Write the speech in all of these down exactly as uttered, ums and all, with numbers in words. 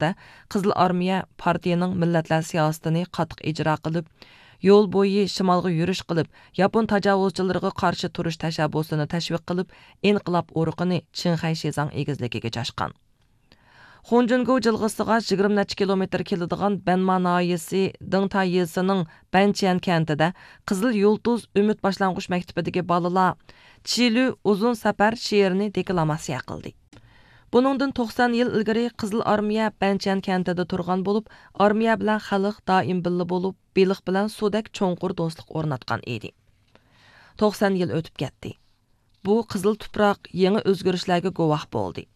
ۋاقىتتا، قىزىل ئارمىيە پارتىيىنىڭ مىللەتلەر سىياسىتىنى قاتتىق ئىجرا قىلىپ، يول بويى شىمالغا يۈرۈش قىلىپ، ياپون تاجاۋۇزچىلىرىغا قارشى تۇرۇش تەشەببۇسىنى تەشۋىق قىلىپ، ئىنقىلاب ئۇرۇقىنى چىڭخەي شىزاڭ ئېگىزلىكىگە چاچقان. خۇڭجۈنگو جىلغىسىغا يىگىرمە نەچچە كىلومېتىر كېلىدىغان بەنما ناھىيەسى دېڭتاي يېزىسىنىڭ بەنچيەن كەنتىدە قىزىل يۇلتۇز ئۈمىد باشلانغۇچ مەكتىپىدىكى بالىلار چىلۈ ئۇزۇن سەپەر شېئىرىنى دېكلاماتسىيە قىلدى. بۇنىڭدىن توقسان يىل ئىلگىرى قىزىل ئارمىيە بەنچيەن كەنتىدە تۇرغان بولۇپ، ئارمىيە بىلەن خەلق دائىم بىللە بولۇپ، بېلىق بىلەن سۇدەك چوڭقۇر دوستلۇق ئورناتقان ئىدى. توقسان يىل ئۆتۈپ كەتتى. بۇ قىزىل تۇپراق يېڭى ئۆزگىرىشلەرگە گۇۋاھ بولدى.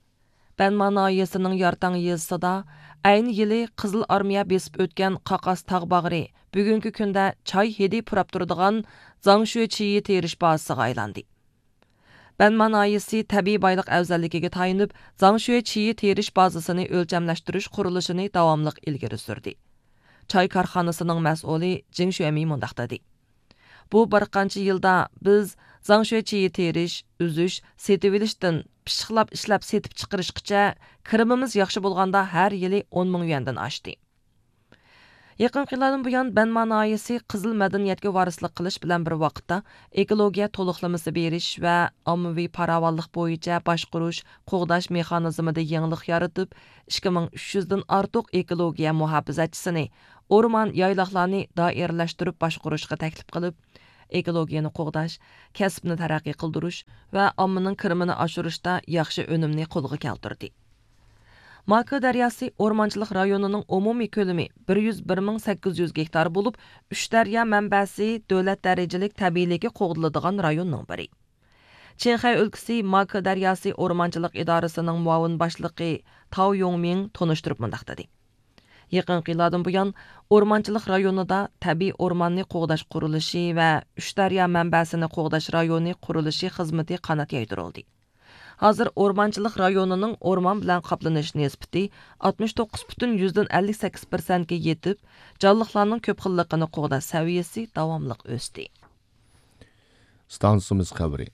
بەنما ناھىيەسىنىڭ يارتاڭ يېزىسىدا ئەينى يىلى قىزىل ئارمىيە بېسىپ ئۆتكەن قاقاس تاغ باغرى بۈگۈنكى كۈندە چاي ھىدى پۇراپ تۇرىدىغان زاڭشۈې چىيى تېرىش بازىسىغا ئايلاندى. بەنما ناھىيەسى تەبىئىي بايلىق ئەۋزەللىكىگە تايىنىپ، زاڭشۈې چىيى تېرىش بازىسىنى ئۆلچەملەشتۈرۈش قۇرۇلۇشىنى داۋاملىق ئىلگىرى سۈردى. چاي كارخانىسىنىڭ مەسئۇلى جىڭ شۈەمى مۇنداق دېدى: بۇ بىر قانچە يىلدا بىز زاڭشۈې چىيى تېرىش، ئۈزۈش، سېتىۋېلىشتىن پىششىقلاپ ئىشلەپ سېتىپ چىقىرىشقىچە كىرىمىمىز ياخشى بولغاندا ھەر يىلى ئون مىڭ يۈەندىن ئاشتى. يېقىنقى يىللاردىن بۇيان بەنما ناھىيەسى قىزىل مەدەنىيەتكە ۋارىسلىق قىلىش بىلەن بىر ۋاقىتتا، ئېكولوگىيە تولۇقلىمىسى بېرىش ۋە ئاممىۋى پاراۋانلىق بويىچە باشقۇرۇش، قوغداش مېخانىزمىدا يېڭىلىق يارىتىپ، ئىككى مىڭ ئۈچ يۈزدىن ئارتۇق ئېكولوگىيە مۇھاپىزەتچىسىنى ئورمان، يايلاقلارنى دائىرىلەشتۈرۈپ باشقۇرۇشقا تەكلىپ قىلىپ، ئېكولوگىيەنى قوغداش، كەسىپنى تەرەققىي قىلدۇرۇش ۋە ئاممىنىڭ كىرىمىنى ئاشۇرۇشتا ياخشى ئۈنۈمنى قولغا كەلتۈردى. ماكې دەرياسى ئورمانچىلىق رايونىنىڭ ئومۇمىي كۆلىمى بىر يۈز بىر مىڭ سەككىز يۈز گېكتار بولۇپ، ئۈچ دەريا مەنبەسى دۆلەت دەرىجىلىك تەبىئىيلىكى قوغدىلىدىغان رايوننىڭ بىرى. چىڭخەي ئۆلكىسى ماكې دەرياسى ئورمانچىلىق ئىدارىسىنىڭ مۇئاۋىن باشلىقى تاۋ يوڭمىڭ تونۇشتۇرۇپ مۇنداق دېدى: يېقىنقى يىللاردىن بۇيان، ئورمانچىلىق رايونىدا تەبىئىي ئورماننى قوغداش قۇرۇلۇشى ۋە ئۈچ دەريا مەنبەسىنى قوغداش رايونى قۇرۇلۇشى خىزمىتى قانات يايدۇرۇلدى. ھازىر ئورمانچىلىق رايونىنىڭ ئورمان بىلەن قاپلىنىش نىسبىتى ئاتمىش توققۇز پۈتۈن يۈزدىن ئەللىك سەككىز پىرسەنتكە يېتىپ، جانلىقلارنىڭ كۆپ خىللىقىنى قوغداش سەۋىيەسى داۋاملىق ئۆستى. ئىستانسىمىز خەۋىرى.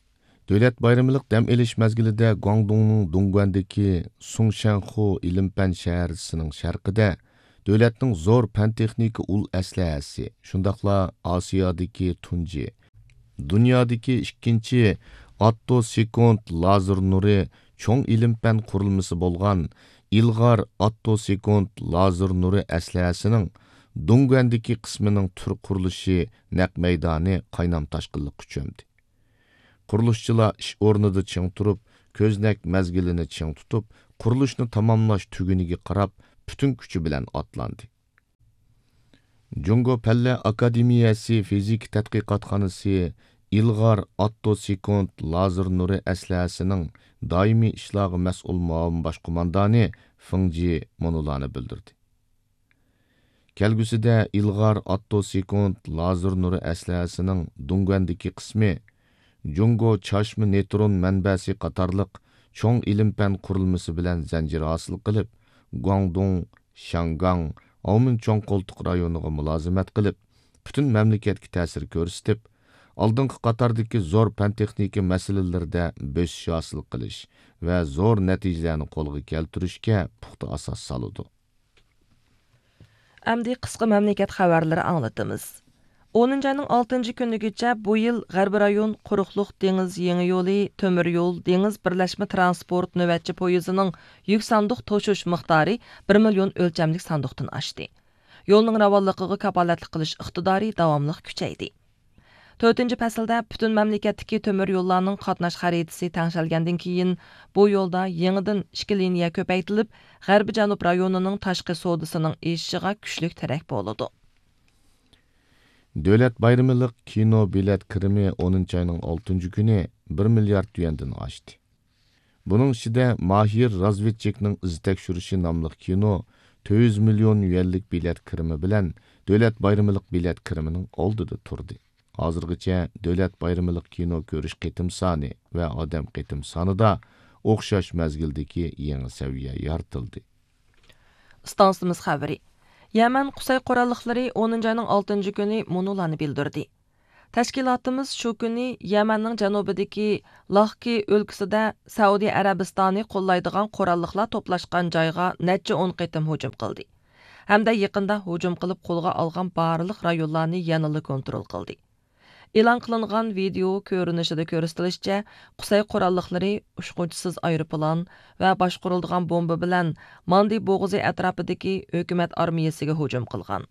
دۆلەت بايرىملىق دەم ئېلىش مەزگىلىدە گۇاڭدۇڭنىڭ دۇڭگۇەندىكى سۇڭشەنخۇ ئىلىم-پەن شەھەرچىسىنىڭ شەرقىدە دۆلەتنىڭ زور پەن-تېخنىكا ئۇل ئەسلىھەسى، شۇنداقلا ئاسىيادىكى تۇنجى، دۇنيادىكى ئىككىنچى ئاتتو سېكۇنت لازېر نۇرى چوڭ ئىلىم-پەن قۇرۇلمىسى بولغان ئىلغار ئاتتو سېكۇنت لازېر نۇرى ئەسلىھەسىنىڭ دۇڭگۇەندىكى قىسمىنىڭ تۈر قۇرۇلۇشى نەق مەيدانى قاينام-تاشقىنلىققا چۆمدى. قۇرۇلۇشچىلار ئىش ئورنىدا چىڭ تۇرۇپ، كۆزنەك مەزگىلىنى چىڭ تۇتۇپ، قۇرۇلۇشنى تاماملاش تۈگۈنىگە قاراپ، پۈتۈن كۈچى بىلەن ئاتلاندى. جۇڭگو پەنلەر ئاكادېمىيەسى فىزىكا تەتقىقاتخانىسى ئىلغار ئاتتو سېكۇنت لازېر نۇرى ئەسلىھەسىنىڭ دائىمىي ئىشلارغا مەسئۇل مۇئاۋىن باش قوماندانى فېڭ جى مۇنۇلارنى بىلدۈردى. كەلگۈسىدە ئىلغار ئاتتو سېكۇنت لازېر نۇرى ئەسلىھەسىنىڭ دۇڭگۇەندىكى قىسمى جۇڭگو چاچما نېيترون مەنبەسى قاتارلىق چوڭ ئىلىم-پەن قۇرۇلمىسى بىلەن زەنجىر ھاسىل قىلىپ، گۇاڭدۇڭ، شياڭگاڭ، ئاۋمېن چوڭ قولتۇق رايونىغا مۇلازىمەت قىلىپ، پۈتۈن مەملىكەتكە تەسىر كۆرسىتىپ، ئالدىنقى قاتاردىكى زور پەن-تېخنىكا مەسىلىلىرىدە بۆسۈش ھاسىل قىلىش ۋە زور نەتىجىلەرنى قولغا كەلتۈرۈشكە پۇختا ئاساس سالىدۇ. ئەمدى قىسقا مەملىكەت خەۋەرلىرى ئاڭلىتىمىز. ئونىنچى ئاينىڭ ئالتىنچى كۈنىگىچە بۇ يىل غەربىي رايون قۇرۇقلۇق دېڭىز يېڭى يولى تۆمۈر يول دېڭىز بىرلەشمە تىرانسپورت نۆۋەتچى پويىزىنىڭ يۈك ساندۇق توشۇش مىقدارى بىر مىليون ئۆلچەملىك ساندۇقتىن ئاشتى. يولنىڭ راۋانلىقىغا كاپالەتلىك قىلىش ئىقتىدارى داۋاملىق كۈچەيدى. تۆتىنچى پەسىلدە پۈتۈن مەملىكەتتىكى تۆمۈر يوللارنىڭ قاتناش خەرىتىسى تەڭشەلگەندىن كېيىن، بۇ يولدا يېڭىدىن ئىككى لىنىيە كۆپەيتىلىپ، غەربىي جەنۇب رايونىنىڭ تاشقى سودىسىنىڭ ئېشىشىغا كۈچلۈك تىرەك بولىدۇ. دۆلەت بايرىمىلىق كىنو بېلەت كىرىمى ئونىنچى ئاينىڭ ئالتىنچى كۈنى بىر مىليارد يۈەندىن ئاشتى. بۇنىڭ ئىچىدە ماھىر رازۋېدچىكنىڭ ئىز تەكشۈرۈشى ناملىق كىنو تۆت يۈز مىليون يۈەنلىك بېلەت كىرىمى بىلەن دۆلەت بايرىمىلىق بېلەت كىرىمىنىڭ ئالدىدا تۇردى. ھازىرغىچە دۆلەت بايرىمىلىق كىنو كۆرۈش قېتىم سانى ۋە ئادەم قېتىم سانىدا ئوخشاش مەزگىلدىكى يېڭى سەۋىيە يارىتىلدى. ئىستانسىمىز خەۋىرى. يەمەن قۇسەي قوراللىقلىرى ئونىنچى ئاينىڭ ئالتىنچى كۈنى مۇنۇلارنى بىلدۈردى. تەشكىلاتىمىز شۇ كۈنى يەمەننىڭ جەنۇبىدىكى لاھكى ئۆلكىسىدە سەئۇدى ئەرەبىستانى قوللايدىغان قوراللىقلار توپلاشقان جايغا نەچچە ئون قېتىم ھۇجۇم قىلدى ھەمدە يېقىندا ھۇجۇم قىلىپ قولغا ئالغان بارلىق رايونلارنى يەنىلا كونترول قىلدى. ئېلان قىلىنغان ۋىدېئو كۆرۈنۈشىدە كۆرسىتىلىشىچە، قۇسەي قوراللىقلىرى ئۇچقۇچىسىز ئايروپىلان ۋە باشقۇرۇلىدىغان بومبا بىلەن ماندى بوغۇزى ئەتراپىدىكى ھۆكۈمەت ئارمىيەسىگە ھۇجۇم قىلغان.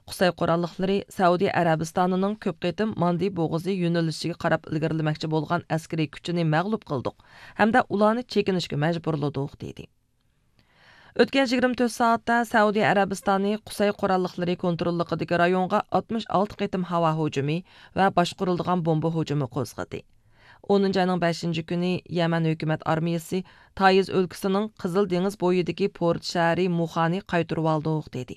قۇسەي قوراللىقلىرى سەئۇدى ئەرەبىستانىنىڭ كۆپ قېتىم ماندى بوغۇزى يۆنىلىشىگە قاراپ ئىلگىرىلىمەكچى بولغان ئەسكىرىي كۈچىنى مەغلۇپ قىلدۇق ھەمدە ئۇلارنى چېكىنىشكە مەجبۇرلىدۇق، دېدى. ئۆتكەن يىگىرمە تۆت سائەتتە سەئۇدى ئەرەبىستانى قۇسەي قوراللىقلىرى كونتروللۇقىدىكى رايونغا ئاتمىش ئالتە قېتىم ھاۋا ھۇجۇمى ۋە باشقۇرۇلىدىغان بومبا ھۇجۇمى قوزغىدى. ئونىنچى ئاينىڭ بەشىنچى كۈنى يەمەن ھۆكۈمەت ئارمىيەسى تايىز ئۆلكىسىنىڭ قىزىل دېڭىز بويىدىكى پورت شەھىرى مۇخانى قايتۇرۇۋالدۇق، دېدى.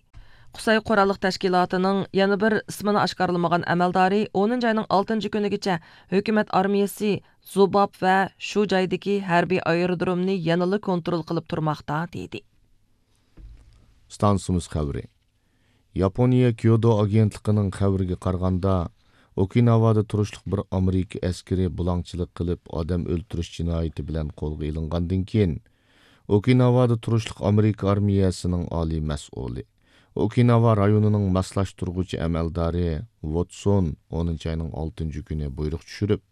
قۇسەي قوراللىق تەشكىلاتىنىڭ يەنە بىر ئىسمىنى ئاشكارىلىمىغان ئەمەلدارى ئونىنچى ئاينىڭ ئالتىنچى كۈنىگىچە ھۆكۈمەت ئارمىيەسى زۇباب ۋە شۇ جايدىكى ھەربىي ئايرودرومنى يەنىلا كونترول قىلىپ تۇرماقتا، دېدى. ئىستانسىمىز خەۋىرى. ياپونىيە كيودو ئاگېنتلىقىنىڭ خەۋىرىگە قارىغاندا، ئوكىناۋادا تۇرۇشلۇق بىر ئامېرىكا ئەسكىرى بۇلاڭچىلىق قىلىپ، ئادەم ئۆلتۈرۈش جىنايىتى بىلەن قولغا ئېلىنغاندىن كېيىن، ئوكىناۋادا تۇرۇشلۇق ئامېرىكا ئارمىيەسىنىڭ ئالىي مەسئۇلى، ئوكىناۋا رايونىنىڭ ماسلاشتۇرغۇچى ئەمەلدارى ۋوتسون ئونىنچى ئاينىڭ ئالتىنچى كۈنى بۇيرۇق چۈشۈرۈپ،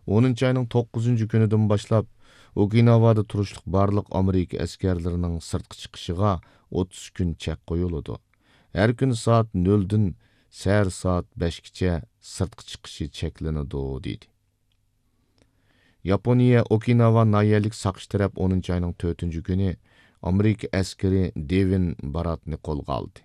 ئونىنچى ئاينىڭ توققۇزىنچى كۈنىدىن باشلاپ ئوكىناۋادا تۇرۇشلۇق بارلىق ئامېرىكا ئەسكەرلىرىنىڭ سىرتقا چىقىشىغا ئوتتۇز كۈن چەك قويۇلىدۇ. ھەر كۈنى سائەت نۆلدىن سەھەر سائەت بەشكىچە سىرتقا چىقىشى چەكلىنىدۇ، دېدى. ياپونىيە ئوكىناۋا ناھىيەلىك ساقچى تەرەپ ئونىنچى ئاينىڭ تۆتىنچى كۈنى ئامېرىكا ئەسكىرى دېۋىن باراتنى قولغا ئالدى.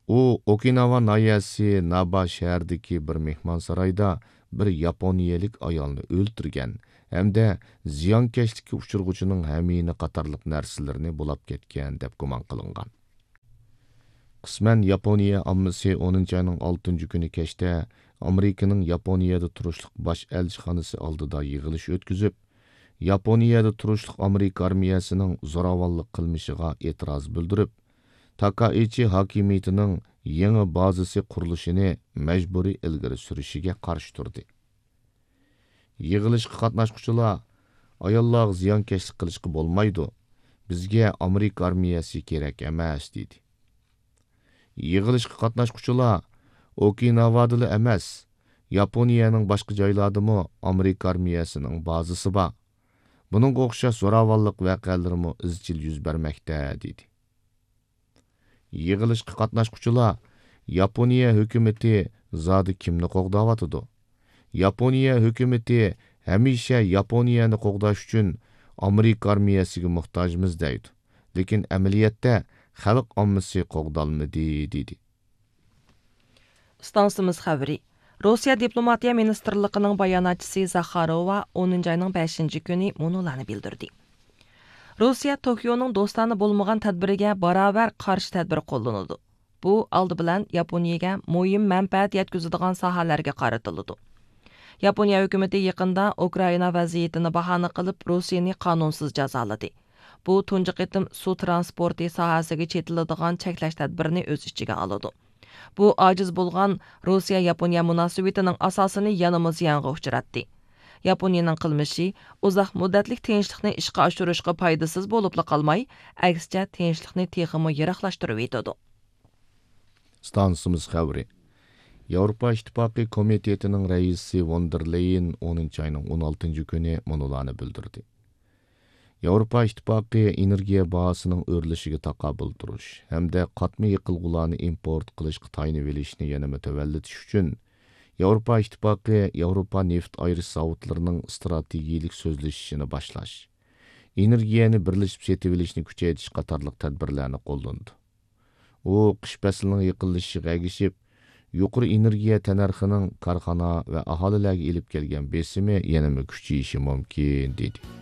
ئۇ ئوكىناۋا ناھىيەسى نابا شەھىرىدىكى بىر مېھمانسارايدا بىر ياپونىيەلىك ئايالنى ئۆلتۈرگەن ھەمدە زىيانكەشلىككە ئۇچرىغۇچىنىڭ ھەمىينە قاتارلىق نەرسىلىرىنى بۇلاپ كەتكەن دەپ گۇمان قىلىنغان. قىسمەن ياپونىيە ئاممىسى ئونىنچى ئاينىڭ ئالتىنچى كۈنى كەچتە ئامېرىكىنىڭ ياپونىيەدە تۇرۇشلۇق باش ئەلچىخانىسى ئالدىدا يىغىلىش ئۆتكۈزۈپ، ياپونىيەدە تۇرۇشلۇق ئامېرىكا ئارمىيەسىنىڭ زوراۋانلىق قىلمىشىغا ئېتىراز بىلدۈرۈپ، تاكائىچى ھاكىمىيىتىنىڭ يېڭى بازىسى قۇرۇلۇشىنى مەجبۇرىي ئىلگىرى سۈرۈشىگە قارشى تۇردى. يىغىلىشقا قاتناشقۇچىلار، «ئاياللارغا زىيانكەشلىك قىلىشقا بولمايدۇ. بىزگە ئامېرىكا ئارمىيەسى كېرەك ئەمەس» دېدى. يىغىلىشقا قاتناشقۇچىلار، «ئوكىناۋادىلا ئەمەس، ياپونىيەنىڭ باشقا جايلاردىمۇ ئامېرىكا ئارمىيەسىنىڭ بازىسى بار. بۇنىڭغا ئوخشاش زوراۋانلىق ۋەقەلىرىمۇ ئىزچىل يۈز بەرمەكتە» دېدى. يىغىلىشقا قاتناشقۇچىلار، «ياپونىيە ھۆكۈمىتى زادى كىمنى قوغداۋاتىدۇ؟ ياپونىيە ھۆكۈمىتى ھەمىشە ياپونىيەنى قوغداش ئۈچۈن ئامېرىكا ئارمىيەسىگە موھتاجمىز دەيدۇ، لېكىن ئەمەلىيەتتە خەلق ئاممىسى قوغدالمىدى» دېدى. ئىستانسىمىز خەۋىرى. روسىيە دىپلوماتىيە مىنىستىرلىقىنىڭ باياناتچىسى زاخاروۋا ئونىنچى ئاينىڭ بەشىنچى كۈنى مۇنۇلارنى بىلدۈردى: روسىيە توكيونىڭ دوستانە بولمىغان تەدبىرىگە باراۋەر قارشى تەدبىر قوللىنىدۇ. بۇ ئالدى بىلەن ياپونىيەگە مۇھىم مەنپەئەت يەتكۈزىدىغان ساھەلەرگە قارىتىلىدۇ. ياپونىيە ھۆكۈمىتى يېقىندا ئۇكرائىنا ۋەزىيىتىنى باھانە قىلىپ، روسىيەنى قانۇنسىز جازالىدى. بۇ تۇنجى قېتىم سۇ ترانسپورتى ساھەسىگە چېتىلىدىغان چەكلەش تەدبىرىنى ئۆز ئىچىگە ئالىدۇ. بۇ ئاجىز بولغان روسىيە-ياپونىيە مۇناسىۋىتىنىڭ ئاساسىنى يەنىمۇ زىيانغا ئۇچراتتى. ياپونىيەنىڭ قىلمىشى ئۇزاق مۇددەتلىك تىنچلىقنى ئىشقا ئاشۇرۇشقا پايدىسىز بولۇپلا قالماي، ئەكسىچە تىنچلىقنى تېخىمۇ يىراقلاشتۇرۇۋېتىدۇ. ئىستانسىمىز خەۋىرى. ياۋروپا ئىتتىپاقى كومىتېتىنىڭ رەئىسى ۋون دېر لېيېن ئونىنچى ئاينىڭ ئون ئالتىنچى كۈنى مۇنۇلارنى بىلدۈردى: ياۋروپا ئىتتىپاقى ئېنېرگىيە باھاسىنىڭ ئۆرلىشىگە تاقابىل تۇرۇش ھەمدە قاتما يېقىلغۇلارنى ئىمپورت قىلىشقا تايىنىۋېلىشنى يەنىمۇ تۆۋەنلىتىش ئۈچۈن، ياۋروپا ئىتتىپاقى ياۋروپا نېفىت ئايرىش زاۋۇتلىرىنىڭ ئىستراتېگىيىلىك سۆزلىشىشىنى باشلاش، ئېنېرگىيەنى بىرلىشىپ سېتىۋېلىشنى كۈچەيتىش قاتارلىق تەدبىرلەرنى قوللىنىدۇ. ئۇ قىش پەسلىنىڭ يېقىنلىشىشىغا ئەگىشىپ، يۇقىرى ئېنېرگىيە تەننەرخىنىڭ كارخانا ۋە ئاھالىلەرگە ئېلىپ كەلگەن بېسىمى يەنىمۇ كۈچىيىشى مۇمكىن، دېدى.